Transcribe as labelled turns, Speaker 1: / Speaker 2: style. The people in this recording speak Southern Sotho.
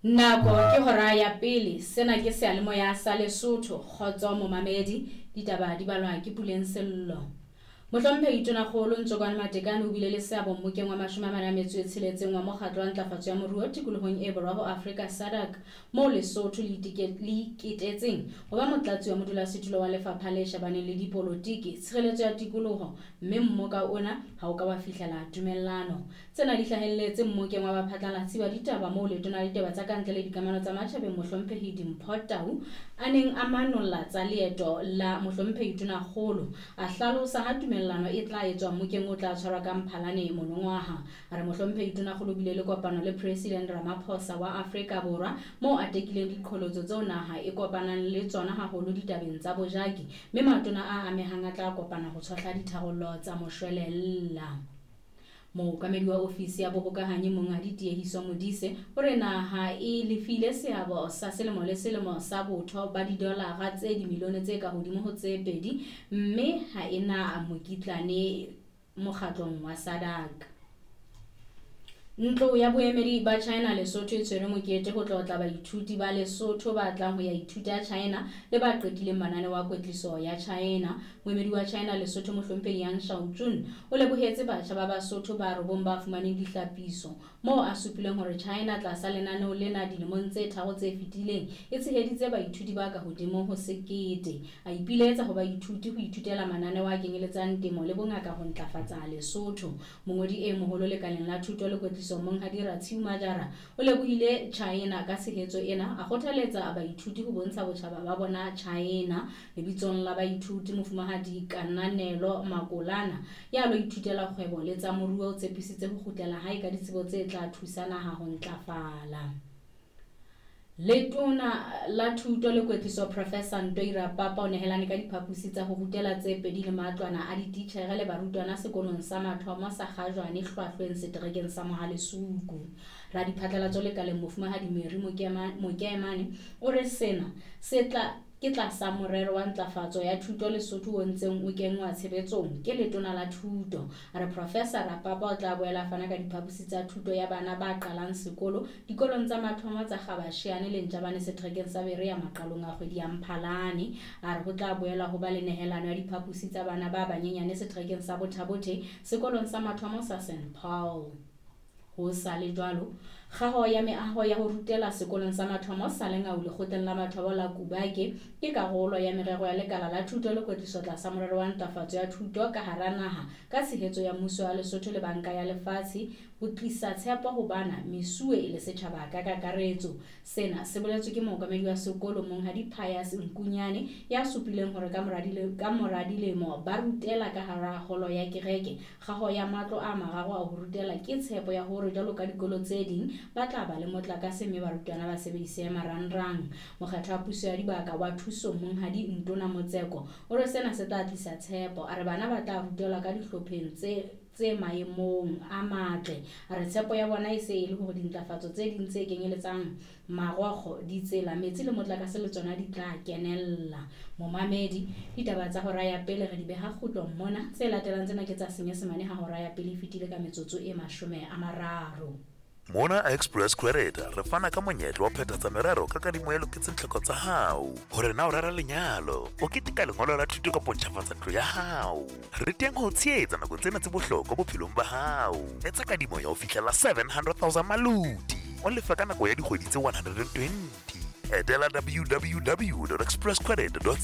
Speaker 1: Nako ke hora ya pele. Sena ke seyalemoya sa Lesotho. Kgotso momamedi. Ditaba di balwa ke Puleng Sello. Mohlomphehi Tonakgolo Ntsokwane Matekane o bile le seabo mmokeng wa 46 wa Mokgatlo wa Ntlafatso ya Moruo Tikolohong e Borwa ho Afrika SADC moo Lesotho le iketetseng ho ba motlatsi wa modulasetulo wa lefapha le shebaneng le dipolotiki, tshireletso ya tikoloho mme mmoka ona ha o ka wa fihlela tumellano. Tsena di hlahelletse mmokeng wa baphatlalatsi ba ditaba moo Letona la Ditaba tsa Kantle le Dikamano tsa Matjhabeng Mohlomphehi Dimpho Tau a neng a manolla tsa leeto la Mohlomphehi Tonakgolo. A hlalosa ha tumellano e tla etswa mmokeng o tla tshwarwa ka Mphalane monongwaha. A re Mohlomphehi Tonakgolo o bile le kopano le President Ramaphosa wa Afrika Borwa moo a tekileng diqholotso tseo naha e kopanang le tsona haholo ditabeng tsa bojaki mme matona a amehang a tla kopana ho tshohla ditharollo tsa moshwelella. Mookamedi wa ofisi ya bohokahanyi Monghadi Tiehiso Modise o re naha e lefile seabo sa selemo le selemo sa botho ba didolara tse dimilione tse ka hodimo ho tse 2 mme ha e na mokitlane mokgatlong wa SADC. Ntlo ya boemedi ba China Lesotho e tshwere mokete ho tlotla baithuti ba Lesotho ba tlang ho ya ithuta China le ba qetileng mananeo a kwetliso ya China. Moemedi wa China Lesotho Mohlomphehi Yang Shaojun o lebohetse batjha ba Basotho ba robong ba fumaneng dihlapiso moo a supileng hore China tlasa lenaneo lena dilemong tse 3 tse fetileng e tsheheditse baithuti ba ka hodimo ho 1000. A ipiletsa ho baithuti ho ithutela mananeo a kenyeletsang temo le bongaka ho ntlafatsa Lesotho. Mongodi e moholo lekaleng la thuto le kwetliso Monghadi Ratshiu Majara o lebohile China ka tshehetso ena, a kgothaletsa baithuti ho bontsha botjhaba ba bona China. Lebitsong la baithuti Mofumahadi Kananelo Makolana ya lo ithutela kgwebo le tsa moruo o tshepisitse ho kgutlela hae ka ditsebo tse tla thusa naha ho ntlafala. Letona la Thuto le Kwetliso Professor Ntoi Rapapa o nehelane ka diphaposi tsa ho rutela tse 2 le matlwana a dititjhere le barutwana sekolong sa mathomo sa Kgajwane Hlwahlweng seterekeng sa Mohalesuku. Radiphatlalatso lekaleng Mofumahadi Mary Mokemane o re sena se tla ke tlasa morero wa ntlafatso ya thuto Lesotho o ntseng o kenngwa tshebetsong ke Letona la Thuto. A re Professor Rapapa o tla boela fana ka diphaposi tsa thuto ya bana ba qalang sekolo dikolong tsa mathomo tsa Gabasheane le Ntjabane seterekeng sa Berea maqalong a kgwedi ya Mphalane. A re ho tla boela ho ba le nehelano ya diphaposi tsa bana ba banyenyane seterekeng sa Bothabothe sekolong sa mathomo sa St Paul. Ho sa le jwalo, kgaho ya meaho ya ho rutela sekolong sa mathomo sa Lengau lekgotleng la mathomo la Kubake ke karolo ya merero ya lekala la thuto le kwetliso tlasa morero wa ntlafatso ya thuto ka hara naha ka tshehetso ya mmuso wa Lesotho le Banka ya Lefatshe ho tlisa tshepo ho bana, mesuwe le setjhaba ka kakaretso. Sena se boletswe ke mookamedi wa sekolo Monghadi Pius Nkunyane ya supileng hore ka mora dilemo ba rutela ka hara holo ya kereke. Kgaho ya matlo a mararo a ho rutela ke tshepo ya hore jwalo ka dikolo tse ding ba tla ba le motlakase mme barutwana ba sebedise marangrang. Mokgatlo wa puso ya dibaka wa thuso Monghadi Ntona Motseko o re sena se tla tlisa tshepo. A re bana ba tla rutelwa ka dihlopheng tse maemong a matle. A re tshepo ya bona e se e le hore dintlafatso tse ding tse kenyeletsang marokgo, ditsela, metsi le motlakase le tsona di tla kenella. Momamedi, ditaba tsa hora ya pele re di beha kgutlong mona. Tse latelang tsena ke tsa Senyesemane ha hora ya pele e fetile ka metsotso e 30.
Speaker 2: Mona Express Credit re fana ka monyetla wa phethatsa merero ka kadimo e loketseng tlhoko tsa hao. Hore na o rera lenyalo, o keteka lengolo la thuto kapa o ntjhafatsa ntlo ya hao. Re teng ho tshehetsa nakong tsena tse bohlokwa bophelong ba hao. Etsa kadimo ya ho fihlela 700,000 maloti. O lefa ka nako ya dikgwedi tse 120. Etela www.expresscredit.co.